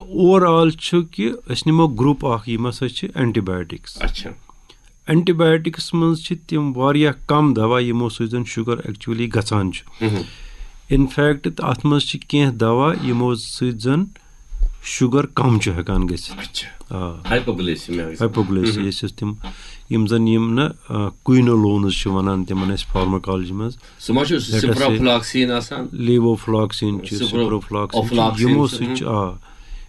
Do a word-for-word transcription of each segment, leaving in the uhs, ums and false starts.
Over all چھُ کہِ أسۍ نِمو گروپ اکھ، یِم ہسا چھِ اینٹی بایوٹکس۔ اچھا۔ اینٹی بایوٹکس منٛز چھِ تِم واریاہ کم دوا، یِمو سۭتۍ زن شُگر ایکچولی گژھان چھُ۔ انفیکٹ، اتھ منٛز چھِ کینٛہہ دوا، یِمو سۭتۍ زن شُگر کم چھُ ہٮ۪کان گٔژھِتھ۔ اچھا۔ آ۔ ہائپوگلیسیمیا۔ ہائپوگلیسیا ٲسۍ تِم، یِم زن یِم نہ، آ، کوئنولونز چھِ ونان تِمن أسۍ فارماکالجی منٛز۔ سُہ ما چھُ Let us say سپرافلاکسین آسان؟ لیووفلاکسین چھِ، سپرو-، سپروفلاکسین چھِ، اوفلاکسین یِمو چھِ، سۭتۍ ہم۔ چھِ، آ،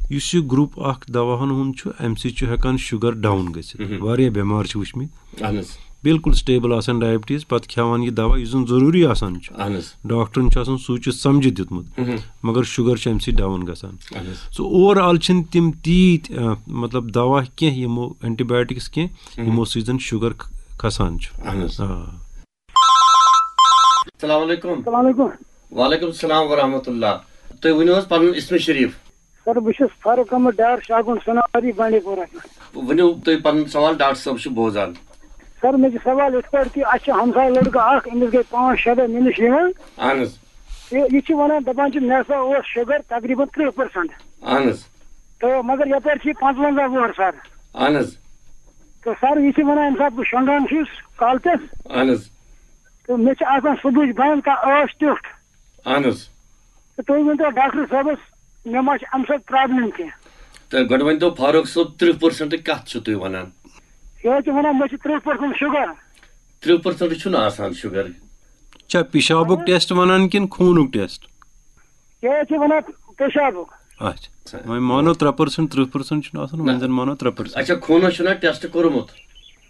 یُس یہِ گروپ اکھ دواہن ہُنٛد چھُ، امہِ سۭتۍ چھُ ہٮ۪کان شُگر ڈاوُن گٔژھِتھ۔ واریاہ بٮ۪مار چھِ وٕچھمٕتۍ، اہن حظ۔ بالکل سٹیبل آسان ڈائبٹیز، پتہٕ کھٮ۪وان یہِ دوا یُس زن ضروٗری آسان چھُ۔ اہن حظ۔ ڈاکٹرن چھُ آسان سوٗنچِتھ سمجھِتھ دیُتمُت، مگر شُگر چھُ امہِ سۭتۍ ڈاوُن گژھان۔ اہن حظ۔ سو اوور آل چھِنہٕ تِم تیٖتۍ، آ، مطلب، دوا کینٛہہ، یِمو اینٹی بایوٹکس کینٛہہ، یِمو سۭتۍ زن شُگر ک-، کھسان چھُ۔ اہن حظ۔ آ۔ السلام علیکم۔ السلام علیکم۔ وعلیکم السلام ورحمۃ اللہ۔ تُہۍ ؤنِو حظ پنُن اسم شریف۔ سر، بہٕ چھُس فاروق احمد ڈار، شاگُن سنواری، بانڈی پورہ۔ ؤنِو تُہۍ پنُن سوال، ڈاکٹر صٲب چھُ بوزان۔ سر، مےٚ چھُ سوال یِتھ پٲٹھۍ کہِ اَسہِ چھُ ہمساے لڑکہٕ اکھ، أمِس گٔے پانٛژھ شےٚ دۄہ، مےٚ نِش یِوان۔ اہن حظ۔ تہٕ یہِ چھُ وَنان، دَپان چھُ، مےٚ ہسا اوس شُگر تقریٖباً ترٕٛہ پٔرسنٹ۔ اہن حظ۔ تہٕ مگر یپٲرۍ چھِ یہِ پنٛژونٛزاہ وُہُر، سر۔ اہن حظ۔ تہٕ سر، یہِ چھِ وَنان، ییٚمہِ ساتہٕ بہٕ شۄنٛگان چھُس کالہٕ پٮ۪ٹھ، اہن حظ۔ تہٕ مےٚ چھِ آسان صُبحٕچ بنٛد کانٛہہ ٲش ٹیوٚٹھ۔ اہن حظ۔ تہٕ تُہۍ ؤنۍتو ڈاکٹر صٲبَس، مےٚ ما چھِ اَمہِ سۭتۍ پرابلم کینٛہہ؟ تہٕ گۄڈٕ ؤنۍتو فاروق صٲب، ترٕٛہ پٔرسنٹ کَتھ چھُو تُہۍ وَنان؟ یہِ حظ چھِ وَنان، مےٚ چھِ ترٕٛہ پٔرسنٹ شُگر۔ ترٕٛہ پٔرسنٹ چھُنہٕ آسان شُگر۔ چھا پیشابُک ٹیسٹ وَنان کِنہٕ خوٗنُک ٹیسٹ؟ یہِ حظ چھِ وَنان پیشابُک۔ اچھا، وۄنۍ مانو ترٛےٚ پٔرسنٹ، ترٕٛہ پٔرسنٹ چھُنہٕ آسان، وۄنۍ زَن مانو ترٛےٚ پٔرسنٹ۔ اچھا، خوٗنَس چھُنہ ٹیسٹ کوٚرمُت؟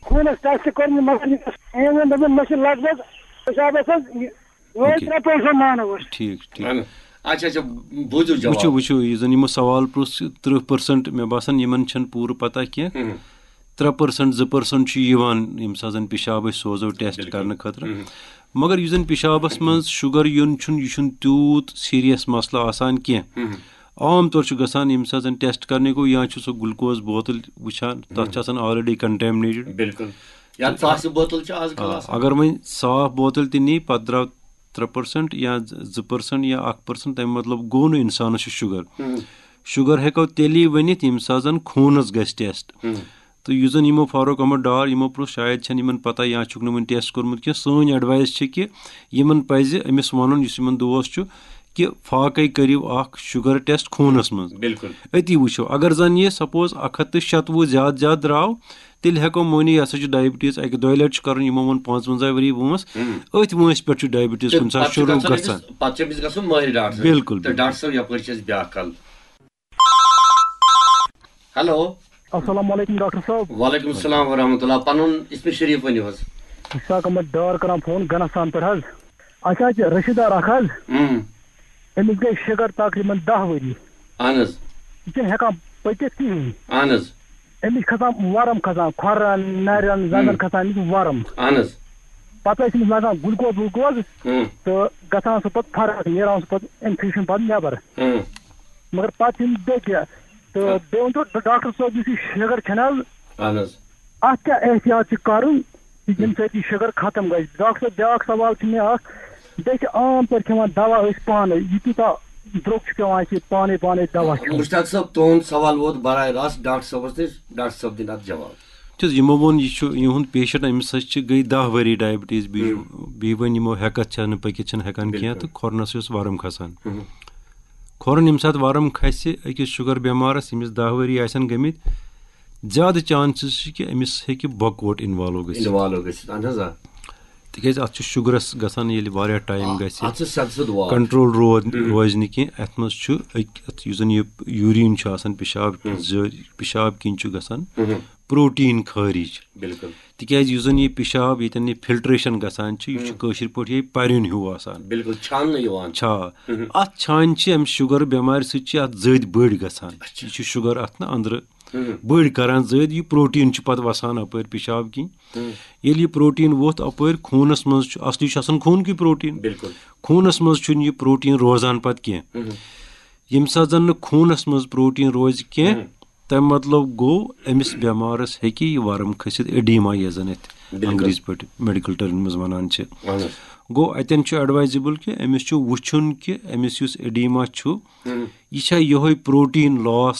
خوٗنَس ٹیسٹ کوٚرمُت، مگر یہِ اوس، أمۍ ووٚن، دوٚپُن، مےٚ چھِ لگ بگ پیشابَس حظ یہِ، یِہوٚے اوکے۔ ترٛےٚ پٔرسنٹ مانو أسۍ۔ ٹھیٖک، ٹھیٖک۔ اہن۔ اچھا، اچھا، بوٗزِو وٕچھِو، جواب۔ وٕچھِو، یُس زَن یِمو سوال پرٛژھ، ترٕٛہ پٔرسنٹ، مےٚ باسان یِمَن چھَنہٕ پوٗرٕ پَتہ کینٛہہ۔ ترٛےٚ پٔرسنٹ، زٕ پٔرسنٹ چھُ یِوان، ییٚمہِ ساتہٕ زَن پیشاب أسۍ سوزو ٹیسٹ کرنہٕ خٲطرٕ۔ مگر یُس زَن پیشابَس منٛز شُگر یُن چھُنہٕ، یہِ چھُنہٕ تیوٗت سیٖریَس مسلہٕ آسان کینٛہہ۔ عام طور چھُ گژھان، ییٚمہِ ساتہٕ زَن ٹیسٹ کرنہِ گوٚو، یا چھُ سُہ گلوکوز بوتل وٕچھان، تَتھ چھِ آسان آلریڈی کنٹیمنیٹڈ۔ بالکل۔ یا ژاسہِ بوتل چھِ آز کل آ، آسان۔ اگر وۄنۍ صاف بوتل تہِ نی، پتہٕ درٛاو ترٛےٚ پٔرسنٹ یا زٕ پٔرسنٹ یا اکھ پٔرسنٹ، تَمہِ مطلب گوٚو نہٕ اِنسانَس چھُ شُگر۔ شُگر ہٮ۪کو تیٚلی ؤنِتھ، ییٚمہِ ساتہٕ زَن خوٗنَس گژھِ ٹیسٹ۔ تہٕ یُس زَن یِمو فاروق احمد ڈار یِمو پرٛژھ، شاید چھَنہٕ یِمَن پَتہ یا چھُکھ نہٕ وٕنہِ ٹیسٹ کوٚرمُت کینٛہہ۔ سٲنۍ ایڈوایس چھِ کہِ یِمَن پَزِ أمِس وَنُن، یُس یِمَن دوس چھُ، کہِ فاقے کٔرِو اکھ شُگر ٹیسٹ خوٗنَس منٛز۔ بالکل۔ أتی وٕچھو، اگر زَن یہِ سپوز اکھ ہَتھ تہٕ شَتوُہ زیادٕ زیادٕ درٛاو، تیٚلہِ ہٮ۪کو مٲنِتھ، یہِ ہسا چھُ ڈائبٹیز اَکہِ دۄیہِ لَٹہِ چھُ کَرُن، یِمو ووٚن پانٛژوَنٛزاہ ؤری وٲنٛس، أتھۍ وٲنٛسہِ پٮ۪ٹھ چھُ ڈائبٹیز کُنہِ ساتہٕ پتہٕ چھُ شروٗع گژھُن گژھان۔ أمِس، پتہٕ چھُ أمِس گژھُن مٲہِر ڈاکٹر۔ بالکل، تہٕ ڈاکٹر صٲب، یپٲرۍ چھِ أسۍ بیٛاکھ کال۔ ہیلو۔ السلام علیکم ڈاکٹر صٲب۔ وعلیکم السلام ورحمۃ اللہ۔ پنُن اسم شریف ؤنِو حظ۔ اشفاق احمد ڈار کران فون گنستان پٮ۪ٹھ حظ۔ اَسہِ حظ چھِ رشتہٕ دار اکھ حظ۔ اۭں۔ أمِس گٔے شُگر تقریباً دَہ ؤری۔ اہن حظ۔ یہِ چھُنہٕ ہٮ۪کان پٔکِتھ کِہیٖنۍ۔ اہن حظ۔ أمِس چھِ کھسان ورم کھسان، کھۄرن، نرٮ۪ن، زنٛگن کھسان أمِس ورم۔ اہن حظ۔ پتہٕ ٲسۍ أمِس لگان گلوکوز وُلوکوز اۭں۔ تہٕ گژھان سُہ پتہٕ فرق، نیران سُہ پتہٕ انفیکشن پتہٕ نٮ۪بر۔ اۭں۔ مگر پتہٕ چھِ أمِس بیٚیہِ کینٛہہ۔ تہٕ بیٚیہِ ؤنۍتو ڈاکٹر صٲب، یُس یہِ شُگر چھَنہٕ حظ، اہن حظ۔ اَتھ کیٛاہ احتیاط چھِ کَرُن، ییٚمہِ سۭتۍ یہِ شُگر ختم گژھِ؟ ڈاکٹر صٲب، بیٛاکھ سوال چھُ مےٚ اَکھ، بیٚیہِ چھِ عام طور کھٮ۪وان دوا أسۍ پانَے، یہِ کوٗتاہ درٛوگ چھُ پٮ۪وان اَسہِ یہِ پانَے پانَے دوا کھیوٚن؟ مشتاق صٲب، تُہُنٛد سوال ووت براہ راست ڈاکٹر صٲبَس نِش، ڈاکٹر صٲب دِنۍ اَتھ جواب۔ تِکیٛازِ یِمو ووٚن، یہِ چھُ، یِہُنٛد پیشنٹ، أمِس ہسا چھِ گٔے دَہ ؤری ڈائبٹیز، بیٚیہِ بیٚیہِ وۄنۍ یِمو ہٮ۪کَتھ چھَنہٕ، پٔکِتھ چھَنہٕ ہٮ۪کان کینٛہہ، تہٕ کھۄرنَس یۄس ورم کھسان۔ کھۄرَن ییٚمہِ ساتہٕ ورم کھسہِ أکِس شُگر بٮ۪مارَس، ییٚمِس دَہ ؤری آسَن گٔمٕتۍ، زیادٕ چانسز چھِ کہِ أمِس ہیٚکہِ بۄکوٹ انوالو گٔژھِتھ۔ انوالو گٔژھِتھ، اہن حظ، آ۔ تِکیٛازِ اَتھ چھُ شُگرَس گژھان ییٚلہِ واریاہ ٹایم گژھِ، اَتھ چھُ سیٚدٕ سیوٚد وال۔ کنٹرول روز روزِ نہٕ کینٛہہ۔ اَتھ منٛز چھُ أکۍ، اَتھ یُس زَن یہِ یوٗریٖن چھُ آسان، پیشاب ذٔ-، پیشاب کِنۍ چھُ گژھان پروٹیٖن خٲرِج۔ بالکل۔ تِکیٛازِ یُس زَن یہِ پیشاب ییٚتٮ۪ن یہِ فلٹریشن گژھان چھِ، یہِ چھُ کٲشِر پٲٹھۍ یہِ پَریُن ہیوٗ آسان۔ بالکل، چھاننہٕ یِوان۔ چھا؟ اَتھ چھانہِ چھِ اَمہِ شُگر بٮ۪مارِ سۭتۍ چھِ اَتھ زٔدۍ بٔڑۍ گژھان۔ یہِ چھُ شُگر اَتھ نہٕ أنٛدرٕ بٔڑۍ کران زٔدۍ، یہِ پروٹیٖن چھُ پتہٕ وَسان اَپٲرۍ پیشاب کِنۍ۔ ییٚلہِ یہِ پروٹیٖن ووٚتھ اَپٲرۍ خوٗنَس منٛز چھُ، اصلی چھُ آسان خوٗنکُے پروٹیٖن۔ بالکل۔ خوٗنَس منٛز چھُنہٕ یہِ پروٹیٖن روزان پتہٕ کینٛہہ۔ ییٚمہِ ساتہٕ زَن نہٕ خوٗنَس منٛز پروٹیٖن روزِ کینٛہہ، تَمہِ مطلب گوٚو أمِس بٮ۪مارَس ہیٚکہِ یہِ ورم کھٔسِتھ، ایڈیما یَتھ زَن أتھۍ انگریزی پٲٹھۍ میڈیکل ٹرمہِ منٛز وَنان چھِ۔ گوٚو اَتٮ۪ن چھُ ایڈوایزیبل کہِ أمِس چھُ وٕچھُن کہِ أمِس یُس ایڈیما چھُ، یہِ چھا یِہوٚے پروٹیٖن لاس